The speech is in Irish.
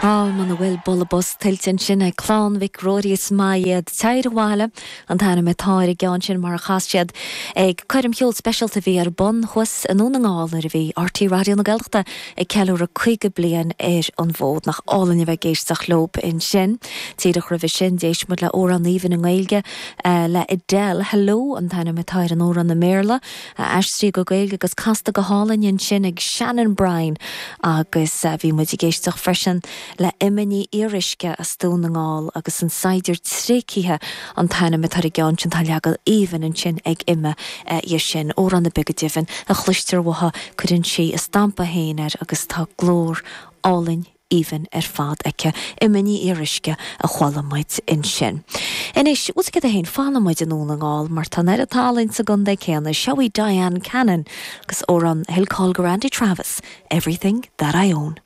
Á, muna bhfuil bualadh bos tuillte ansin ag Clann Mhic Ruairí is maith iad. Téir Abhaile an t-ainm atá ar an gceann sin mar a chas siad ag coirm cheoil speisialta a bhí ar bun thuas i nDún na nGall nuair a bhí RTÉ Raidió na Gaeltachta ag ceiliúradh 50 bliain ar an bhfód. Nach álainn a bheith ag éisteacht leob ansin. Díreach roimhe sin d'éist muid le amhrán aoibhinn i nGaeilge le Adele, Hello an t-ainm atá ar an amhrán i mBéarla. a aistríodh go Gaeilge agus casta go hálainn ansin ag Shannon Bryan agus bhí muid ag éisteacht freisin le Emma Ní Fhíoruisce as Dún na nGall agus An Saighdiúir Tréigthe an t-ainm atá ar an gceann sin, tá leagan aoibhinn ansin ag Emma dhe sin, amhrán ar bith go deimhin a chloistear uaithi cuireann sí a stampa féin air agus tá glór álainn aoibhinn ar fad aici. Emma Ní Fhíoruisce a chuala muid ansin. Anois, bhfuil 's agat féin, fanfaidh muid i nDún na nGall mar tá an oiread tallann sa gcontae céanna. Seo í Dyan Cannon agus amhrán a thuill cáil do Randy Travis, Everything That I Own.